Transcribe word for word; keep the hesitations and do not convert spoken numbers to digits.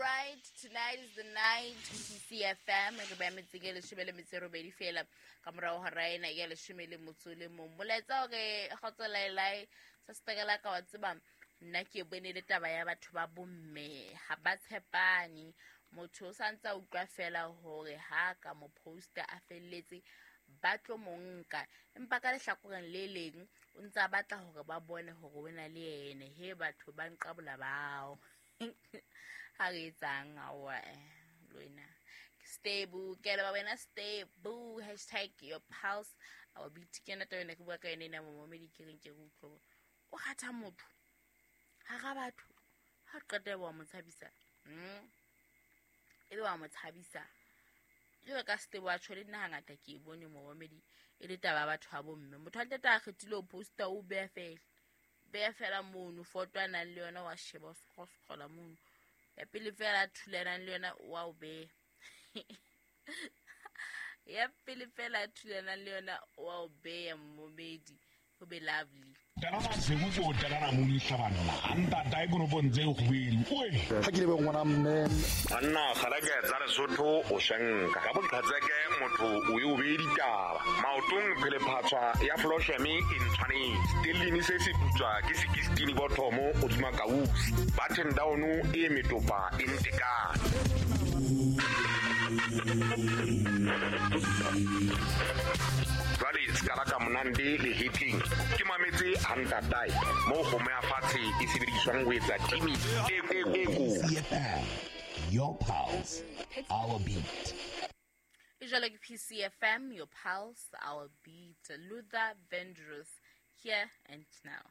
right, tonight is the night. P C F M re ba metseng e leshome le metso e robedi fela ka morao hora ena ya leshome le motso le mong. Molaetsa hore kgotso laelae sa setekela ka wa tseba nna ke bone le taba ya batho ba bomme ha ba tshepane. Motho o sa ntse a utlwa fela hore ha ka mo posta a felletse ba tlo mo nka, empa ka lehlakoreng le leng o ntse a batla hore ba bone hore o na le ene. He batho ba nqabola bao. Ha re etsang aowa lwena stable ke le ba wena stable hashtag your pulse our beat. Ke yona taba ena ke bua ka yona ena momamedi, ke reng ke re utlwe o kgatha motho hara batho ha qeta wa mo tshabisa, mm ebe wa mo tshabisa. Jwalo ka stable wa tjho le nna hangata ke e bone momamedi e le taba ya batho ba bomme. Motho a ntate a kgethile ho posta o beha fela beha fela mono foto a nang le yona wa sheba o scroll-a mono ya pele fela a thulanang le yona wa o beha ya pele fela a thulanang le yona wa o beha momamedi. Ho be lovely. Talana sekupo talana molisa banna ntata e kono ntse go buile oe ha ke le be ngwana mme anna kgalake tsa Lesotho o shanka ka boqhatseke motho o e o be ditaba maotong phele phatswa ya flosheme e ntshwanetse stellini se se putswa ke sixteen bothomo o duma kausi button down e metopa e ntekana. Jwale ska la ka monande le hitting ke mametse hantatae mo kgomo ya fatshe e sebediswang ho etsa timi e e e your pulse our beat. Jwale ke P C F M, your pulse our beat. Luther Vandross, here and now.